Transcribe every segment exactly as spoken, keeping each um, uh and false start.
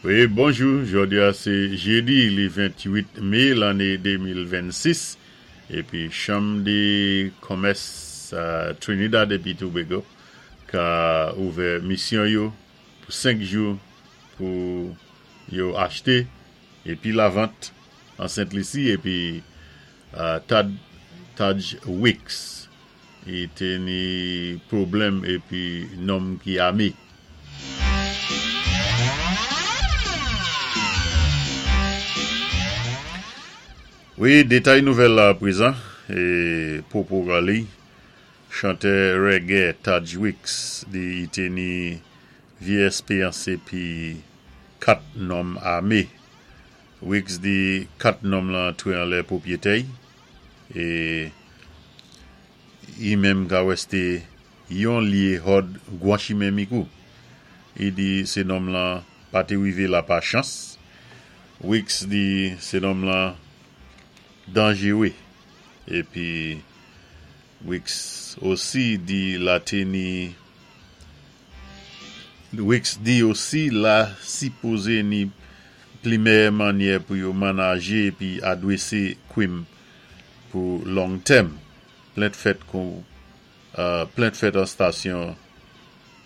Wi, bonjou, jòdi-a sé jédi li venn-tuit mé lanné de mil vennsis épi Chanm dé Komès Trinidad épi Tobago ka ouvè misyon yo pou senk jou pou yo achté épi lavant an Sent Lisi épi Tad Taj Weekes i té ni pwoblèm épi nonm ki amé. Wi, détay nouvèl la prezan, é Popo Gali, chantè reggae Taj Weekes di i té ni vyé èspéyans épi kat nonm amé. Weekes di kat nonm lan antré anlè pwopwété-y é i menm ka wèsté yon lyé hòd gwan chimen Micoud. I di sé nonm lan pa té wivé la pa chans. Weekes di sé nonm lan danjéwé. Épi Weekes osi di la té ni Weekes di osi la sipozé ni pli méyè mannyè pou yo manajé épi adwésé kwim pou long tèm. Plent fèt kou plent fèt an stasyon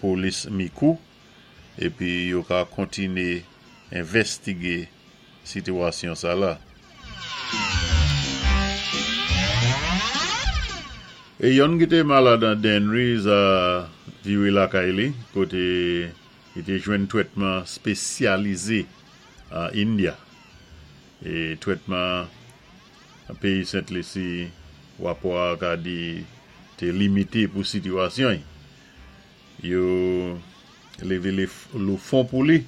polis Micoud épi yo ka kontiné envèstigé sitwasyon sa la. É yonn ki té malad an Dennery a viwé lakay li koté i té jwenn twètman spésyalizé an India. É twètman an péyi Sent Lisi wapò a ka di té limité pou sitwasyon. Yo lévé lé fon pou li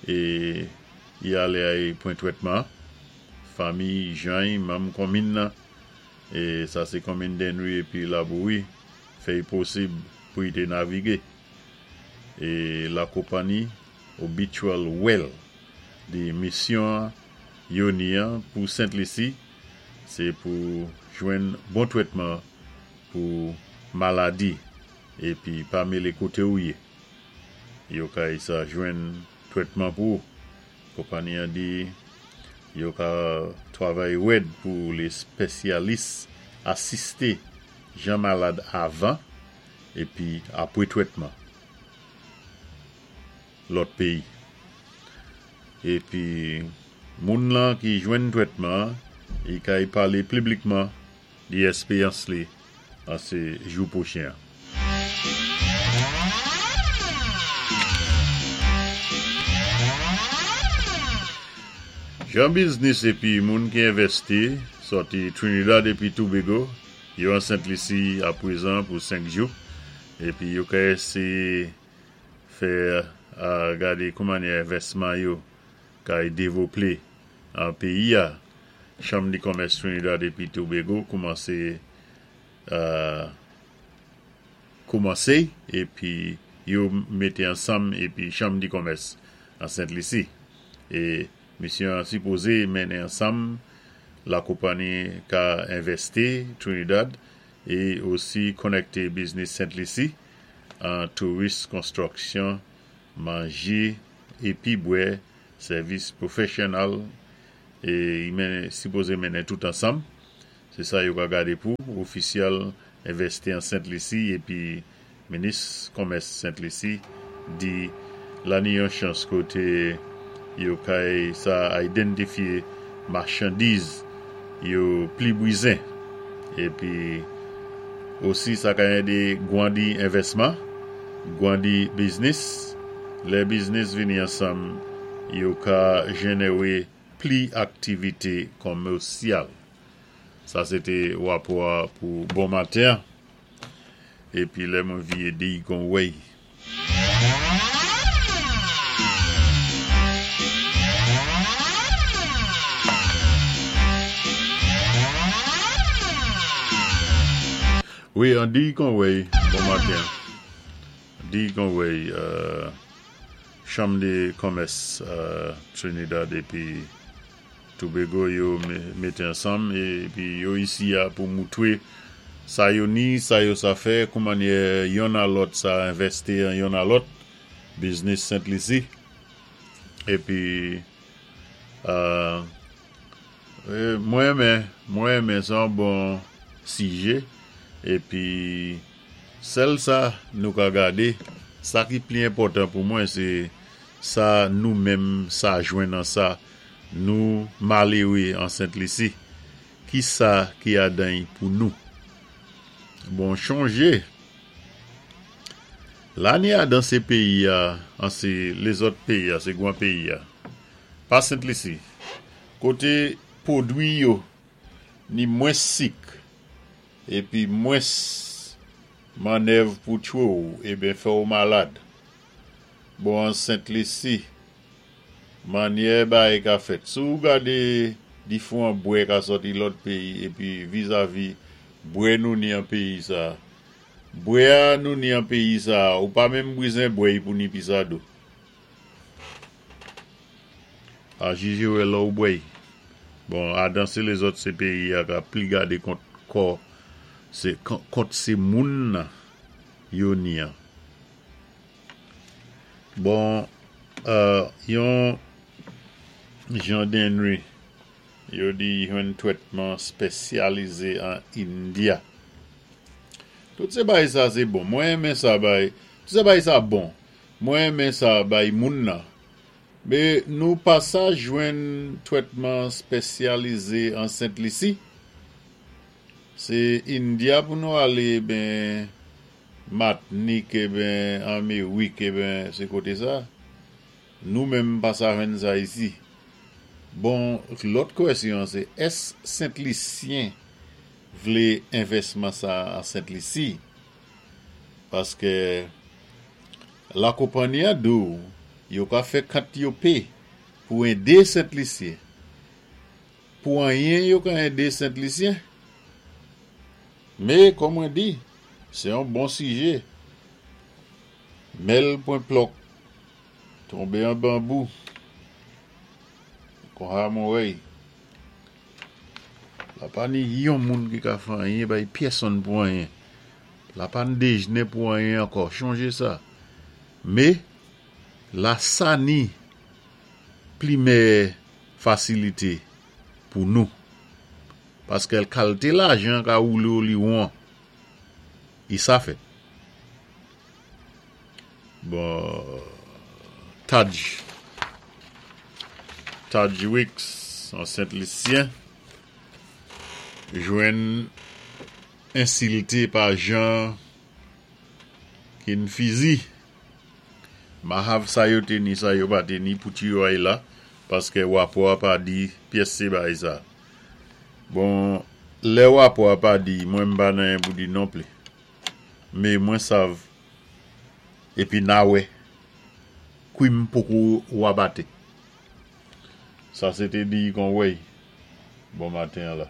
é i alé ay pwan twètman. Fanmi, jan, manm konminn nan é sa sé konminn Dennery épi Labouri fè-y posib pou i té navigé. É la konpanni Obitual Well di misyon yo ni an pou Sent Lisi sé pou jwenn bon twètman pou maladi épi pa mélé koté ou yé. Yo kay sa jwenn twètman pou. Konpanni an di yo ka twavay wèd pou lé spésyalis asisté jan malad avan épi apwé twètman lòt péyi. Épi moun lan ki jwenn twètman i kay palé piblikman di èspéyans li an sé jou pwochen. Jan biznis épi moun ki envèsti sòti Trinidad épi Tobago yo an Sent Lisi aprezan pou senk jou épi yo ka éséyé fè gadé kouman envèsman yo kay dévloplé an péyi-a. Chanm di Komès Trinidad épi Tobago koumansé koumansé épi yo mété ansanm épi Chanm di Komès an Sent Lisi. É misyon sipozé mennen ansanm la konpanni ka envèsti Trinidad é osi konnèkté biznis Sent Lisi an touris, konstwiksyon, manjé épi bwè, sèvis pwofèsyonnèl é i sipozé mennen tout ansanm. Sé sa yo ka gadé pou ofisyèl envèsti an Sent Lisi épi minis komès Sent Lisi di la ni yon chans koté yo kay sa idantifyé machandiz yo pli bwizen épi osi sa ka édé gwandi envèsman, gwandi biznis, lè biznis vini ansanm yo ka jénéwé pli aktivité konmèsyal. Sa sé té wapò pou bon maten épi lè mwen viyé di kon wèy. Wi, an di kon wèy, bon maten. Di kon wèy, Chanm di Komès Trinidad épi Tobago yo mété ansanm épi yo isi a pou moutwé sa yo ni, sa yo sa fè, kouman yonn a lòt sa envèsti an yonn a lòt, biznis Sent Lisi. Épi, euh, mwen renmen, mwen renmen sa bon sijé. Épi, sèl sa nou ka gadé, sa ki pli enpòtan pou mwen, sé sa nou menm sa jwenn nan sa, nou maléwé an Sent Lisi. Ki sa ki adan pou nou? Bon, chonjé. La ni adan sé péyi a, an sé lézòt péyi a, sé gwan péyi a. Pa Sent Lisi. Koté pwodwi yo, ni mwens sik, épi mwens mannèv pou tchwé ou, eben fè ou malad. Bon, an Sent Lisi, mannyè bagay ka fèt. Si ou gadé difwan bwè ka sòti lòt péyi, épi vizavi bwè nou ni an péyi sa. Bwè a nou ni an péyi sa, ou pa menm bizwen bwè pou ni pisado. A jijé wè lè ou bwè. Bon, adan sé lézòt sé péyi a ka pli gadé kont kò, sé kont sé moun yo ni an. Bon, euh, yon Jean Denry, yo di yon twètman spésyalizé an India. Tout sé bagay sa sé bon. Mwen renmen sa bay, tout sé bagay sa bon. Mwen renmen sa bay moun nan. Mé nou pa sa jwenn twètman spésyalizé an Sent Lisi. Sé India pou nou alé ben Matnik e ben Amerik e ben sé koté sa. Nou menm pa sa jwenn sa isi. Bon, lòt kwèsyon sé ès Sent Lisyen vlé envèsman sa an Sent Lisi? Paské la konpanyi a di ou, yo ka fè kant yo pé pou édé Sent Lisyen. Pou anyen yo ka édé Sent Lisyen. Mé, kòm mwen di, sé yon bon sijé. Mèl pwen plòk, tonbé an banbou, kon ha mwen wè'y. La pa ni yon moun ki ka fè anyen bay pyèsonn pou anyen. La pa ni déjné pou anyen ankò, chonjé sa. Mé, la sa ni pli mèyè fasilité pou nou. Paské kalité lajan ka woulé ou li won. I sa fèt. Bon, Taj. Taj Weekes, an Sent Lisyen, jwenn ensilté pa Jean Kinfizi. Mahav sa yo té ni, sa yo pa té ni pou tiway la, paské wapò a pa di pyès sé bagay sa. Bon, lè wapò a pa di, mwen m pa nan pou di non pli. Mé mwen sav, épi na wè, kwim poko wabaté. Sa sé té di kon wèy. Bon maten la.